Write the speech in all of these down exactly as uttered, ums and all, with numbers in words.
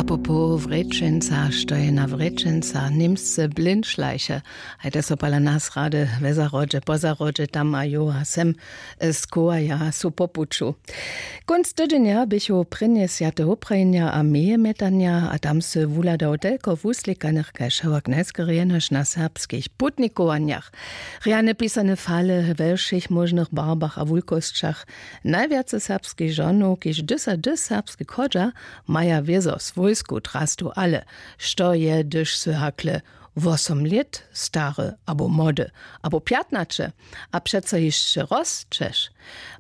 Popoł wrěčenca, što je na wrěčenca, němsce blindschleiche. Hajde so pala nas rady we zahrodźe po zahrodźe tam a jo a sem, skowaja su po puću. Kónc tydźenja běchu prěnje swjate wuprajenja a meje mjetanja a tam sy wuhladał telko wuslikanych kaž hewak najskerjenož na serbskich putnikowanjach. Rjane pisane fale we wšěch móžnych barbach a wulkosćach. Najwjace serbskich žonow kiž dysady serbske chodźa, maja wězo swójsku drastu ale, što je hdyž sy hakle wosom lět stary abo młody, abo pjatnaće, a přeco hišće rosćeš?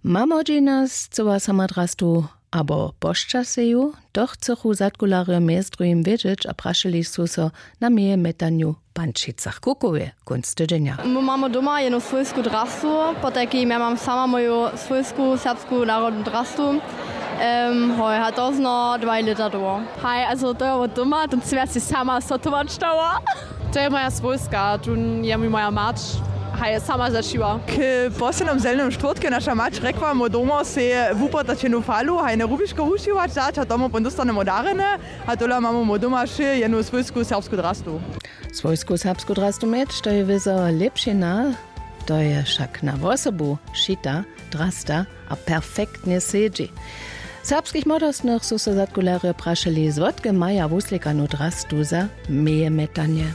Mamožina scyła sama drastu abo pošćaseju? To chcychu zadkularjo mjez druhim wědźeć a prašeli su so na meje mjetanju w pančicach kukowje kónc tydźenja. Mój mamo doma jednu swójsku drastu, potajkim ja mam sama moju swójsku serbsku narodnu drastu. Hoj, a to zno dwaj lěta dołho. Haj, also to je wot doma, to sym ja sej sama sotować dała. To je moja swójska, tu je mi moja mać, haj, sama zašiła. K poslednym zelnym štwórtke naša mać rjekła mu doma sej wupytać jednu falu hajne rubiško wušiwać dać a tomu pon dóstanemu darjene. A tola mamu mu doma wšě jednu swójsku serbsku drastu. Swójsku serbsku drastu měć to je wězo lěpšina. To je wšak na wosobu šita drasta a perfektnje sedźi. Serbskich młodostnych su so zadkularjo prašeli zwotke maja wuslikanu drastu za meje mjetanje.